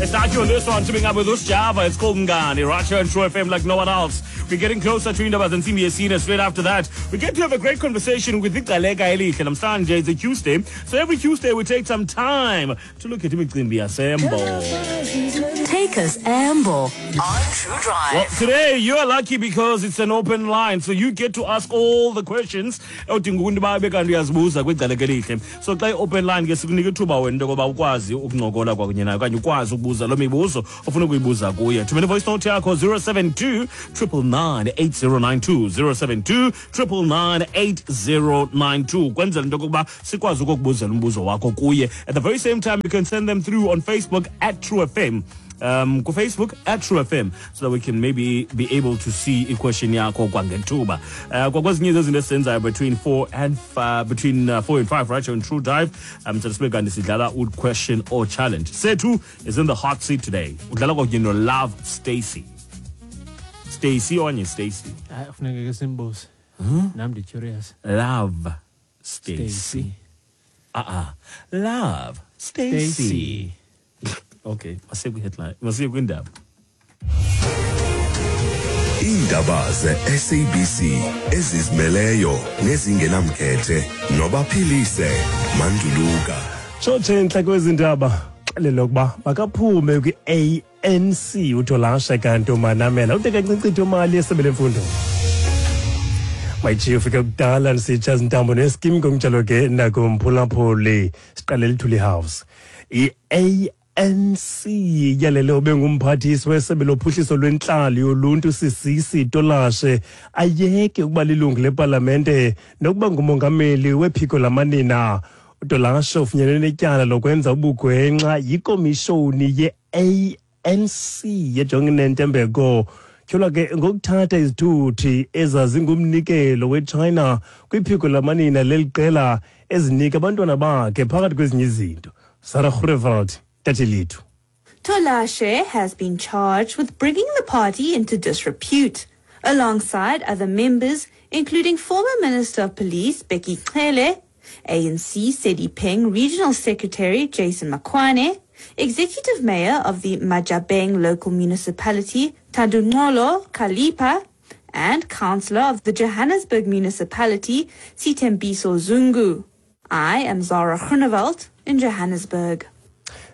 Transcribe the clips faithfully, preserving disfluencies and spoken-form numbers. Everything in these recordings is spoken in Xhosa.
It's Aki on this one, teaming up with Usjava. It's called Ngani, right here on True F M like no one else. We're getting closer to Indaba Zensimbi Yesine. Straight after that, we get to have a great conversation with Igcaleka Elihle. Namhlanje it's a Tuesday, so every Tuesday we take some time to look at imicimbi yasembo. Take us Ambo on True Drive. Well, today you are lucky because it's an open line, so you get to ask all the questions. Odinga ukuntu babe kanti uyazibuza kwiGcaleka Elihle. So xa i-open line ke sikunika ithuba wena into yokoba ukwazi ukuncokola kwakunye nayo okanye ukwazi ukubuza loo mibuzo ofuna ukuyibuza kuye. Thumela voice note yakho zero seven two triple nine eight zero nine two, zero seven two triple nine eight zero nine two, kwenzela into yokokuba sikwazi ukukubuzela umbuzo wakho kuye. At the very same time, you can send them through on Facebook at True F M. Um, ku Facebook at True F M, so that we can maybe be able to see i-question yakho kwangethuba. Uh, kwakwezinye zezinto esizenzayo between four and five, between uh, four and five, right here on True Drive. Um, so sibe kanti sidlala u-question or challenge. Sethu is in the hot seat today. Udlala kwakunye no Love Stacy. Stacy okanye Stacy? Hayi, kufuneka ke simbuze. Nam ndi-curious. Love Stacy. Stacy. Uh-uh. Love Stacy. Stacy. Okay, masiye kwi-headline, masiye kwindaba. Iindaba ze-S A B C ezizimeleyo nezingenamkhethe nobaphilise Manduluka. Tshotshe entle kwezi ndaba, xelele ukuba makaphume kwi-A N C uTolashe kanti uManamela uthe kancinci imali yesebe lemfundo. Mayijiyo ufike kudala ndisitsha zintambo neskim ngokunjalo ke nakumphulaphuli siqale Luthuli House. I-A N C yalele obengumphathiswa wesebe lophuhliso lwentlalo yoluntu Sisisi Tolashe ayeke ukuba lilungu lepalamente nokuba ngumongameli wephiko lamanina. uTolashe ufunyenwe netyala lokwenza ubugwenxa yikomishoni ye-A N C yejongene nentembeko. Tyholwa ke ngokuthatha izithuthi ezazingumnikelo weChina kwiphiko lamanina leli qela ezinika abantwana bakhe phakathi kwezinye izinto. Sarah Groenewald. Tolashe has been charged with bringing the party into disrepute, alongside other members, including former Minister of Police Bheki Cele, A N C Sedipeng Regional Secretary Jason Makwane, Executive Mayor of the Majabeng Local Municipality Tandunolo Kalipa, and Councillor of the Johannesburg Municipality Sithembiso Zungu. I am Zara Groenewald in Johannesburg.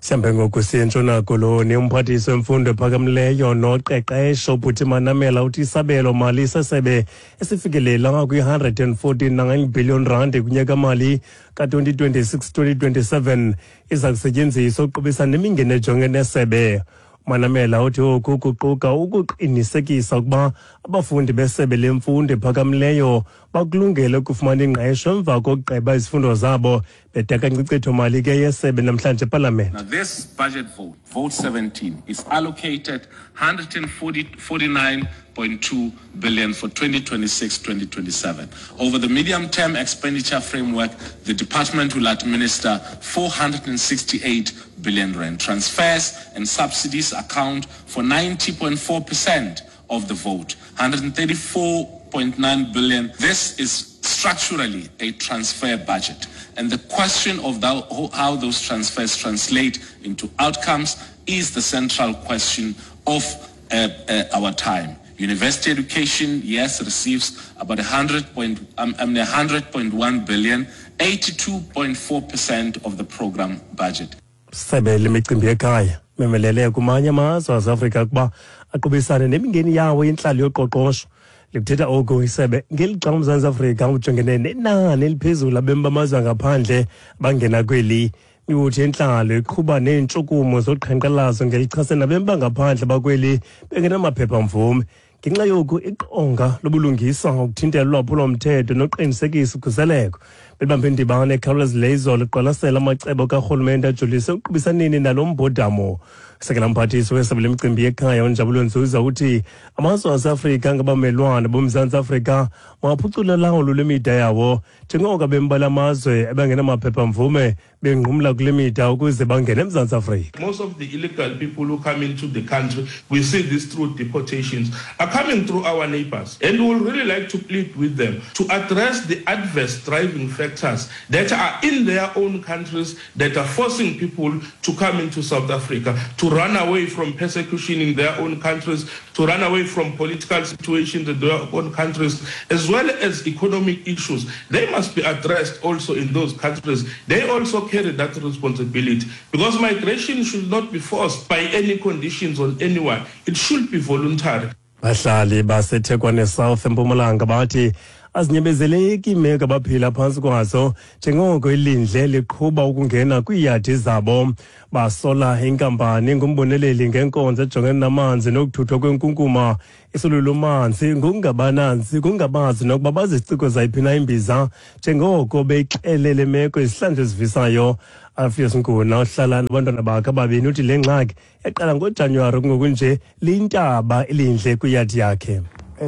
Sihambe ngoku siye eNtshona Koloni. Umphathiswa wemfundo ephakamileyo noqeqesho Buti Manamela uthi isabelo mali sesebe esifikelela kwi-one hundred forty-nine billion rand kunyaka-mali ka-twenty twenty-six twenty twenty-seven iza kusetyenziswa ukuqubisana nemingeni ejongene nesebe. Manamela uthi oku kuquka ukuqinisekisa ukuba abafundi besebe lemfundo ephakamileyo bakulungele ukufumana ingqesho emva kokugqiba izifundo zabo. Bedaka inkcitho mali ke yesebe namhlanje epalamente. Now this budget vote, vote seventeen, is allocated one hundred forty-nine point two billion for twenty twenty-six twenty twenty-seven. Over the medium-term expenditure framework, the department will administer four hundred sixty-eight billion rand. Transfers and subsidies account for ninety point four percent of the vote, one hundred thirty-four point nine billion. This is structurally a transfer budget. And the question of the, how those transfers translate into outcomes is the central question of uh, uh, our time. University education, yes, receives about one hundred point, um, I mean, one hundred point one billion, eighty-two point four percent of the program budget. Sebe lemicimbi yekhaya memelele kumanye amazwe aseAfrika ukuba aqubisane nemingeni yawo yentlalo yoqoqosho. Likuthetha oku isebe ngelixa uMzantsi Afrika ujongene nenani eliphezulu labemi bamazwe angaphandle bangena kweli. Imibutho yentlalo iqhuba neentshukumo zoqhankqalazo ngelichase nabemi bangaphandle bakweli bengenamaphepha-mvume. Ngenxa yoku iqonga lobulungisa ukuthintela ulwaphulo-mthetho noqinisekisa ukhuseleko belibambe indibano ekhawulezileyo izolo liqwalasela amacebo karhulumente ajolise ekuqubisaneni nalo mbhodamo. Sekela mphathiswa wesebe lemicimbi yekhaya uNjabulo Nzuza uthi amazwe aseAfrika angabamelwane boMzantsi Afrika mawaphucule ulawulo lwemida yawo njengoko abemi bala mazwe abangenamaphepha-mvume benqumla kule mida ukuze bangene eMzantsi Afrika. Most of the illegal people who come into the country, we see this through deportations, are coming through our neighbors. And we would really like to plead with them to address the adverse driving factors that are in their own countries that are forcing people to come into South Africa, to run away from persecution in their own countries, to run away from political situations in their own countries, as well as economic issues. They must be addressed also in those countries. They also carry that responsibility, because migration should not be forced by any conditions on anyone. It should be voluntary. Bahlali baseThekwane South eMpumalanga bathi azinyebezeleki iimeko abaphila phantsi kwazo njengoko ilindle liqhuba ukungena kwiiyadi zabo. Basola inkampani ngumboneleli ngenkonzo ejongene namanzi nokuthuthwa kwenkunkuma iSululumanzi ngokungabananzi kungabazi nokuba baziciko zayiphi na imbiza njengoko beyixelele meko izihlandlo ezivisayo. Alpheus Nkuna ohlala nabantwana bakhe ababini uthi le ngxaki yaqala ngoJanuwari kungokunje liyintaba ilindle kwiyadi yakhe.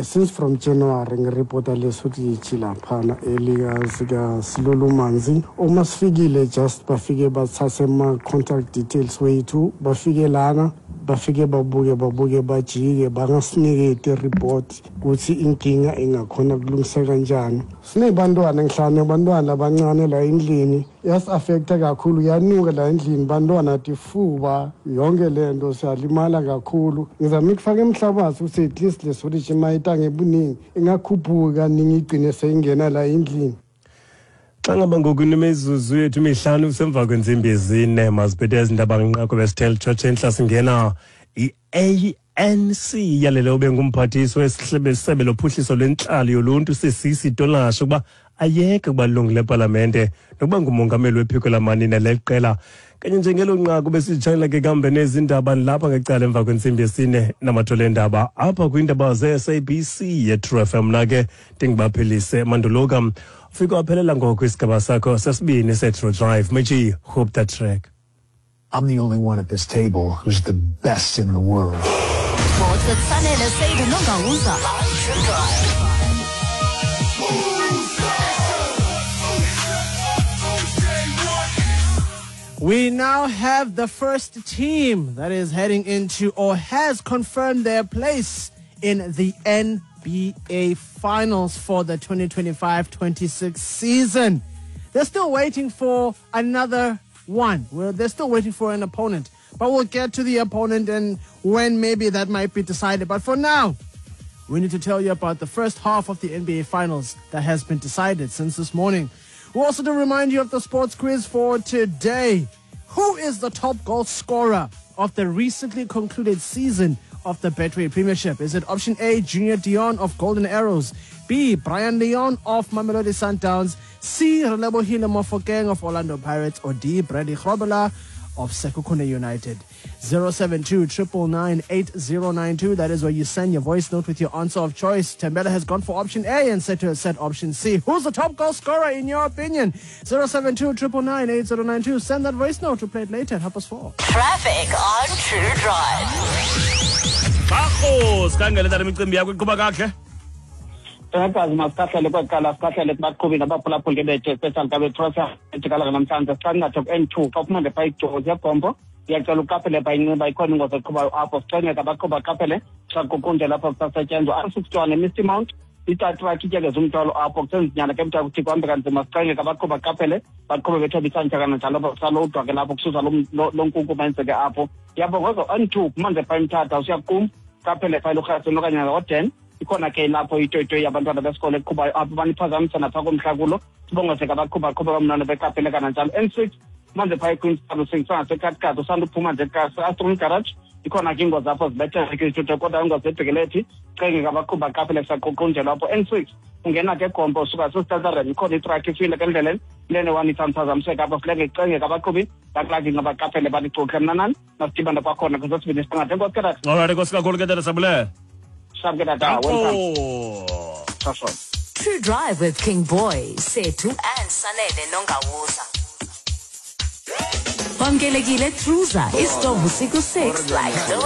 Since from January ngiripota lesuthi laphana elika Silolumanzi uma sifikile just bafike bathathe ama contact details wethu, bafike lana bafike babuke babuke bajike bangasinike report ukuthi inkinga ingakhona kulungiseka kanjani. Sinebantwana ngihlane abantwana abancane la endlini, yas affecta kakhulu, yanuka la endlini bantwana tifuba yonke lento siyalimala kakhulu. Ngizama ukufaka emhlabathi ukuthi at least lesolution mayita ngebuningi ingakhuphuka ningi igcine seyingena la endlini. Xa ngaba ngoku imizuzu yethu mihlanu semva kwentsimbi ezine maziphethe ezindaba ngenqaku besithel Church enhla singena i-A N C yalele ube ngumphathiswa wesebe lophuhliso lwentlalo yoluntu Sisisi Tolashe ukuba ayeke ukuba lilungu lepalamente nokuba ngumongameli wephiko lamanina leqela. Kanye njengelo nqaku besitshayela ke kambe nezindaba lapha ngecala emva kwentsimbi yesine namathole endaba apha kwiindaba ze-S A B C ye-True F M. Mna ke ndingibaphelise Manduluka. Ufike waphelela ngoku isigaba sakho sesibini se-True Drive. Meji, hope that track. I'm the only one at this table who's the best in the world. Sports with Sanele Seydu Nongauza. True Drive. We now have the first team that is heading into or has confirmed their place in the N B A Finals for the twenty twenty-five twenty-six season. They're still waiting for another one. Well, they're still waiting for an opponent. But we'll get to the opponent and when maybe that might be decided. But for now, we need to tell you about the first half of the N B A Finals that has been decided since this morning. We'll also to remind you of the sports quiz for today. Who is the top goal scorer of the recently concluded season of the Betway Premiership? Is it option A, Junior Dion of Golden Arrows, B, Brian Leon of Mamelodi Sundowns, C, Relebohile Mofokeng of Orlando Pirates, or D, Bradley Grobbelaar of Sekhukhune United? zero seven two, triple nine, eight zero nine two. That is where you send your voice note with your answer of choice. Tembela has gone for option A and said to have said option C. Who's the top goal scorer in your opinion? zero seven two, triple nine, eight zero nine two. Send that voice note to play it later at half past four. Traffic on True Drive. Bakho, sikhangele tata imicimbi yakho iqhuba kakuhle. Takazi masikahlele kwaqala sikahlele kubaqhubi nabaphulaphuli ke bethu especially ka betrosa ejikala namhlanje siqangatha ku-N two xa uphuma pha iJozi yegombo iyacela uqaphele pha inxiba ikhona ingozi eqhubayo apho sicengeka abaqhuba baqaphele xa kukunje lapho kusasetyenzwa R sixty-one eMisty Mount itatrakhi ityekeza umthwalo apho kusenzinyana ke mntu kuthi kuhambe kanzima sicengeka abaqhuba baqaphele baqhube bethobisantya kananjalo apho kusalowudwa ke lapho kususa lo nkunku mayenzeke apho yabongoza N two kumanze pha eMthatha usiyakum qaphele pha elurhasini okanye ngoden ikhona ke lapho itoyitoyi yabantwana besikolo eqhubayo apho baniphazamisa napha komhlakulo sibongozeka abaqhuba qhuba kamnandi beqaphele kananjalo N six manje pha eQueenstown usingisanga usanda uphuma nje Astron Garage ikhona ke ingozi apho zibethele ke izithuthu kodwa ingozi ebhekelethi cengeka abaqhuba qaphele kusaqoqonjelwa apho N six ungena ke gombo usuka sesitazareni ikhona itrakhi ifile ke endleleni lene one ithamphazamiseka apho funeka icengeka abaqhubi bakulaki ngabaqaphele banicoxe mna nani masidibane kwakhona kwesesibini isiqingatha. Enkosi ke tata. All right, enkosi kakhulu ke tata Sabule. True Drive with King Boy, Sethu and Sanele Nongawuza. Wamkelekile Truza, isitovu siku six like no